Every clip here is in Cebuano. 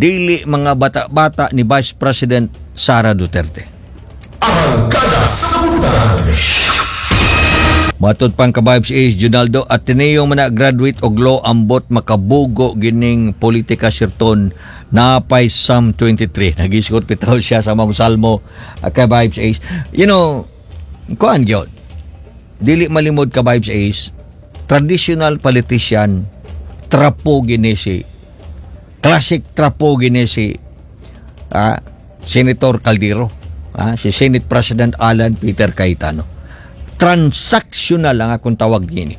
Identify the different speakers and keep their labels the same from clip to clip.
Speaker 1: Dili mga bata-bata ni Vice President Sara Duterte.
Speaker 2: Arangkada sa Butang.
Speaker 1: Matod pang ka-vibes is Junaldo Ateneo man na graduate og law, ambot makabugo gining politika sirton napay Psalm 23. Nagisgot bitaw siya sa mga salmo, ka-vibes Ace. Kuan gyud. Dili malimod, ka-vibes Ace, traditional politician, trapo gini si classic trapo gini si Senator Caldero, si Senate President Alan Peter Cayetano. Transactional ang akong tawag gini.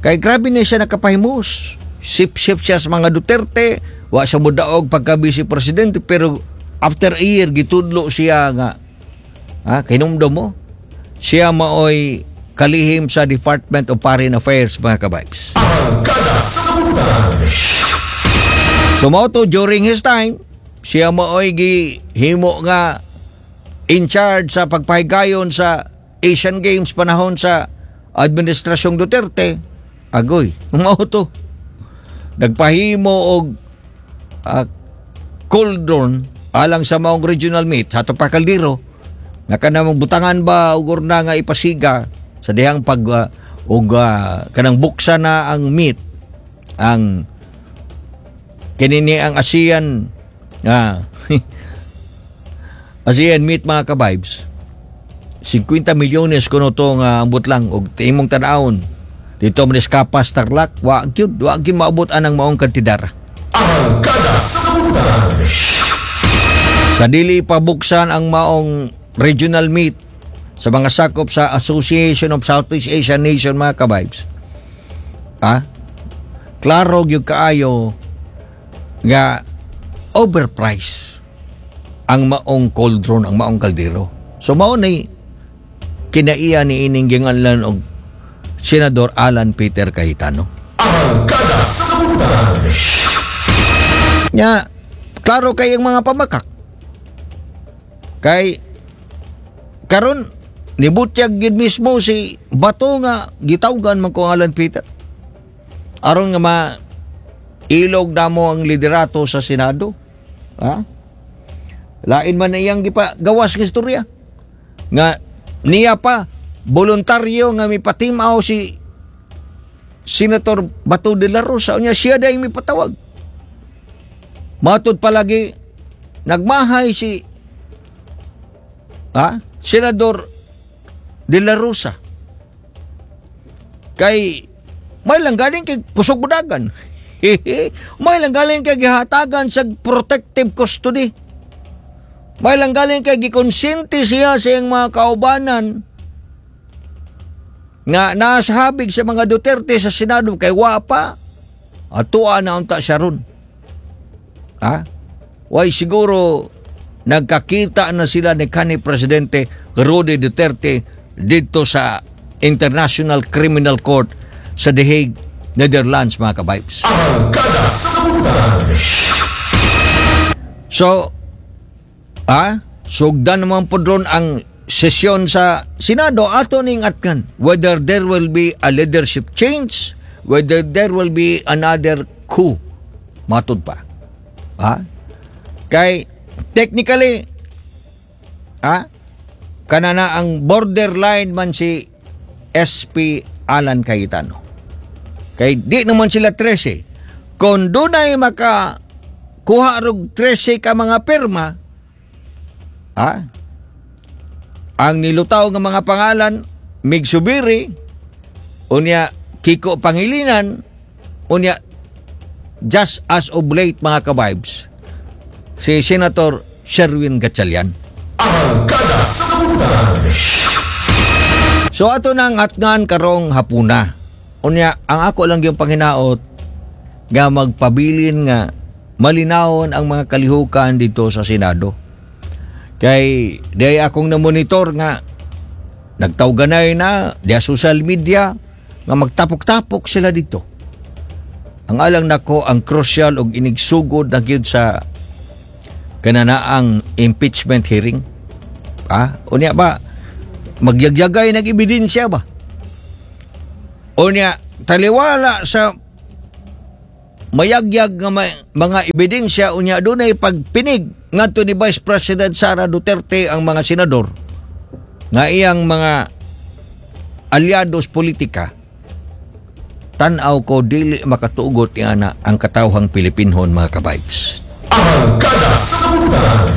Speaker 1: Kay grabe na siya nakapahimos. Sip-sip siya sa mga Duterte, wa siya modaog pagka vice presidente, pero after a year gitudlo siya nga kinumdum mo siya maoy kalihim sa Department of Foreign Affairs, mga kabibes.
Speaker 2: Arangkada sa Butang.
Speaker 1: So mao to, during his time, siya maoy gihimo nga in charge sa pagpahigayon sa Asian Games panahon sa administrasyong Duterte. Agoy, mao to. Nagpahimo og cauldron alang sa maong regional meet hato pa kaldero nga kanang butangan ba og urna nga ipasiga sa dihang pag og kanang buksan na ang meet, ang kinini ang ASEAN meet, mga ka-vibes. 50 milyones kuno to nga ambot lang, og imong tan-awon dito man Capas, Tarlac, wa gyud maabot anang maong kantidara.
Speaker 2: Arangkada sa Butang.
Speaker 1: Sa dili pa buksan ang maong regional meet sa mga sakop sa Association of Southeast Asian Nation, mga ka-vibes. Klaro gyud kaayo nga overprice ang maong cauldron, ang maong kaldero. So mao nay kinaiya ni ining ginganlan og Senador Alan Peter Cayetano.
Speaker 2: Arangkada sa Butang.
Speaker 1: Nya, klaro kay ang mga pamakak. Kay karon nibutyag gid mismo si Bato nga gitawgan man ko ang Alan Peter. Aron nga ma ilog namo ang liderato sa Senado. Ha? Lain man na iyang gipa gawas nga istorya. Nga niya pa voluntaryo nga mipatimaw si Senator Bato de la Rosa, unya siya dahil mipatawag. Matod palagi nagmahay si Senador de la Rosa. Kay may lang galing kay kusog budagan. May lang galing kay gihatagan sa protective custody. May lang galing kay gikonsente siya sa iyang mga kaubanan nga nasa habig sa mga Duterte sa Senado kay wa pa atua na unta siya ron. Ha? Way siguro nagkakita na sila ni kanhi Presidente Rody Duterte dito sa International Criminal Court sa The Hague, Netherlands, mga kabibes.
Speaker 2: Arangkada sa Butang.
Speaker 1: So, sugdan naman po doon ang sesyon sa Senado, ato ning atkan whether there will be a leadership change, whether there will be another coup. Matod pa. Ha? Kay technically, kanana ang borderline man si SP Alan Cayetano. Kay di naman sila 13. Kung dunay maka kuha rog 13 ka mga pirma, ang nilutaw nga mga pangalan, Migz Zubiri, unya Kiko Pangilinan, unya just as of late, mga kabibes, si Senator Sherwin Gatchalian.
Speaker 2: Arangkada sa Butang.
Speaker 1: So ato nang atngan karong hapuna. Unya ang ako lang yung panghinaot nga magpabilin nga malinawon ang mga kalihukan dito sa Senado. Kay di akong na-monitor nga nagtawganay na diya social media nga magtapok-tapok sila dito. Ang alang nako, ang crucial og inigsugod na gyud sa kananaang impeachment hearing. Unya ba magyagyagay nag ebidensya ba? Unya taliwala sa Mayagyag nga mga ebidensya, unya dunay pagpinig ngadto ni Vice President Sara Duterte ang mga senador nga iyang mga alyados politika, tan-aw ko dili makatugot ana ang katawhang Pilipinhon, mga ka-vibes.
Speaker 2: Arangkada sa Buntag.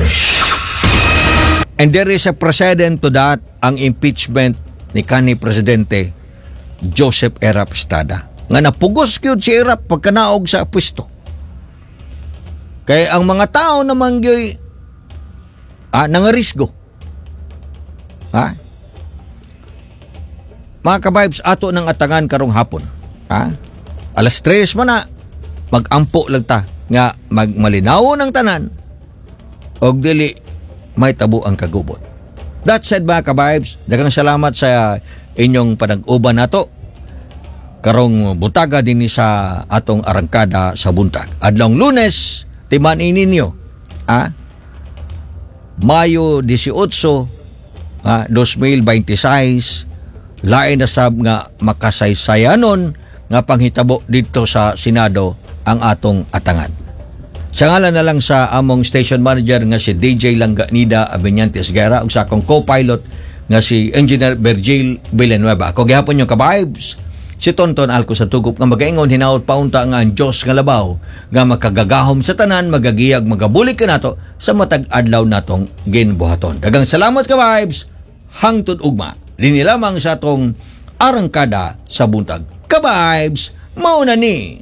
Speaker 1: And there is a precedent to that, ang impeachment ni kanhi Presidente Joseph Erap Estrada. Nga napugos gyud si Erap pagkanaog sa pwesto. Kay ang mga tao naman gyud nangarisgo. Ha? Mga ka-vibes, ato ng atangan karong hapon. Ha? Alas 3 man na, mag-ampo lang ta nga magmalinaw ng tanan og dili may tabo ang kagubot. That said, mga ka-vibes, daghang salamat sa inyong panag-uban nato karong butaga dinhi sa atong Arangkada sa Buntag. Adlong Lunes, timan-i ninyo, Mayo 18, 2026, lain na sab nga makasaysayanon nga panghitabo dito sa Senado ang atong atangan. Sa ngalan na lang sa among station manager nga si DJ Langganida Abenyantes Guerra ug sa akong co-pilot nga si Engineer Virgil Villanueva. Ako gihapon inyong ka-vibes, si Tonton Alco sa Tugup, nga magaingon, hinaot paunta nga ang Diyos nga labaw nga makagagahom sa tanan magagiyag, magabulig kanato sa matag adlaw natong ginbuhaton. Daghang salamat, ka-vibes, hangtod ugma dinhi lamang sa atong Arangkada sa Buntag. Ka-vibes, mao na ni.